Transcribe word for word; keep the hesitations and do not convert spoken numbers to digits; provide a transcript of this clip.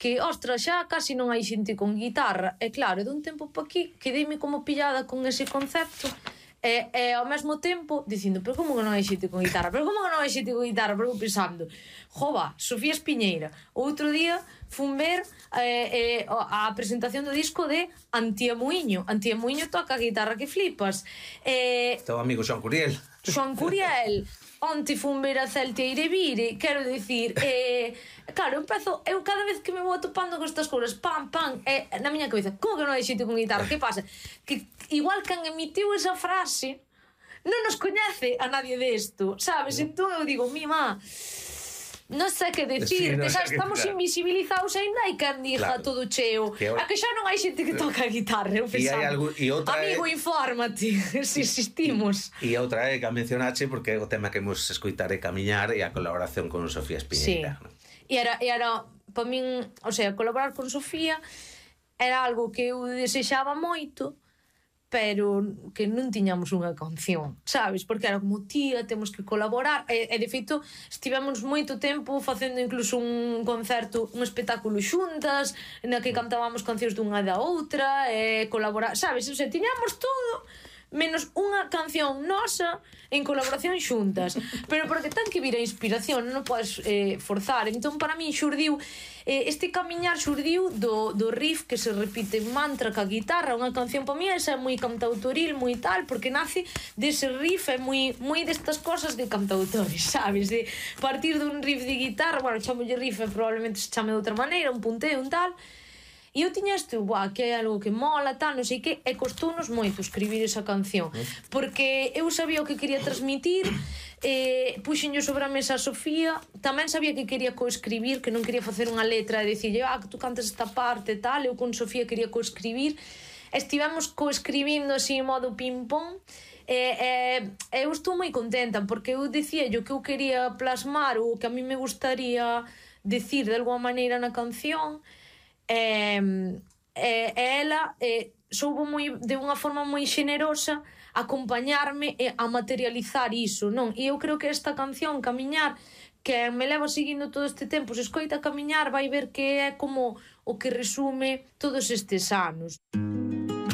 que, ostras, xa casi non hai xente con guitarra. E claro, dun tempo pa aquí quedeime como pillada con ese concepto e, e ao mesmo tempo dicindo, pero como que non hai xente con guitarra, pero como que non hai xente con guitarra, pero pensando, jova, Sofía Espiñeira. Outro día fun ver eh, eh, a presentación do disco de Antía Muiño. Antía Muiño toca a guitarra que flipas. eh, Teu amigo Xoan Curiel. Xoan Curiel. Onte fun ver a Celtia Irevire. Quero dicir, eh, claro, eu empezo, eu cada vez que me vou atopando con estas cousas, pam, pam, eh, na miña cabeza, como que non hai xente con guitarra? Que pasa? Que igual que han emitiu esa frase non nos coñece a nadie desto, sabes? Entón eu digo, mi má, non sei que decir, Sí, no xa sei que- estamos claro. invisibilizados, ainda hai quen diga Claro. todo cheo. Que ahora- A que xa non hai xente que toca a guitarra, eu E hai pensando. algo- e outra é- Amigo, infórmate, se existimos. E outra é que a mencionache porque o tema que imos escoitar é Camiñar e a colaboración con Sofía Espiñeira. Sí. E era, e era para min, o sea, colaborar con Sofía era algo que eu desexaba moito, pero que non tiñamos unha canción, sabes? Porque era como, tía, temos que colaborar. E, e de feito, estivemos moito tempo facendo incluso un concerto, un espectáculo xuntas, na que cantábamos cancións dunha da outra, e colaborar, sabes? O sea, tiñamos todo menos unha canción nosa en colaboración xuntas, pero porque ten que vir a inspiración, non podes eh, forzar. Entón para min xurdiu eh, este camiñar xurdiu do, do riff que se repite en mantra ca guitarra. Unha canción para mí esa é moi cantautoril, moi tal, porque nace dese riff, é moi, moi destas cosas de cantautores, sabes? De partir dun riff de guitarra, bueno, chamolle riff e probablemente se chame de outra maneira, un punteo, un tal. E eu tiña isto, buah, que é algo que mola, tal, non sei que, e costounos moito escribir esa canción, porque eu sabía o que quería transmitir, eh, puxenlle sobre a mesa a Sofía, tamén sabía que quería coescribir, que non quería facer unha letra e dicirlle, ah, que tú cantas esta parte, tal, eu con Sofía quería coescribir, estivemos coescribindo así en modo ping-pong, e, e eu estou moi contenta, porque eu dicía yo que eu quería plasmar o que a mí me gustaría decir de alguma maneira na canción. E, e, e ela e, soubo moi, de unha forma moi xenerosa acompañarme e a materializar iso, non? E eu creo que esta canción, Camiñar, que me leva seguindo todo este tempo, se escoita Camiñar vai ver que é como o que resume todos estes anos.